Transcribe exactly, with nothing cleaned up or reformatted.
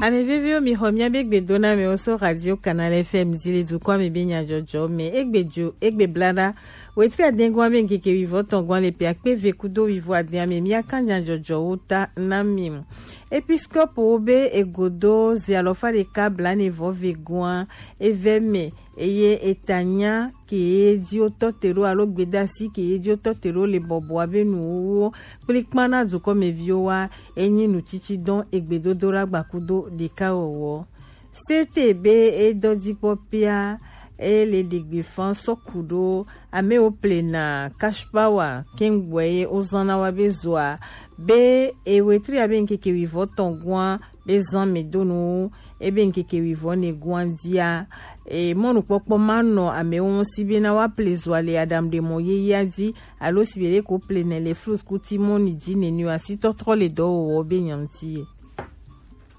Ame veviwo, mi xɔ miabe gbedonamewo so Radio Canal F M dzi le dukɔa me be nyadzɔdzɔ me. Egbe dzo, egbe blada. Wetri adengua be ŋkeke wivɔ tɔngua le pe akpe ve kudo wivɔ adea me, miaka nyadzɔdzɔwo ta na mi. Episkopo wo be egodo ze alɔfa ɖeka blanevɔ ve gua eve me, eye etanya ke ye dzi wotɔ te ɖo alo gbedasi ke ye dzi wotɔ te ɖo le bɔbɔa be nuwuwo kplikpan na dukɔmeviwo wa, enyi nutsitsidɔn egbedodoɖa gbakudo ɖekawɔwɔ. Sete be edɔ dzi kpɔ pia, ele ɖegbe fan sɔ ku ɖo amewo plena cash power kengboe ye wozana wa be zoa be ewetri abe ŋkeke wivɔ tɔn gua be zan me donu ebe ŋkeke wivɔ ne gua dia. E, mɔnukpɔkpɔ ma nɔ amewo ŋu si bena wa ple zoa le Adam ɖe mɔ yeyea dzi alo si be ɖe ko ple ne le flus kuti mɔni dzi nenu asi tɔtrɔ le dɔwɔwɔ be nyanti ye.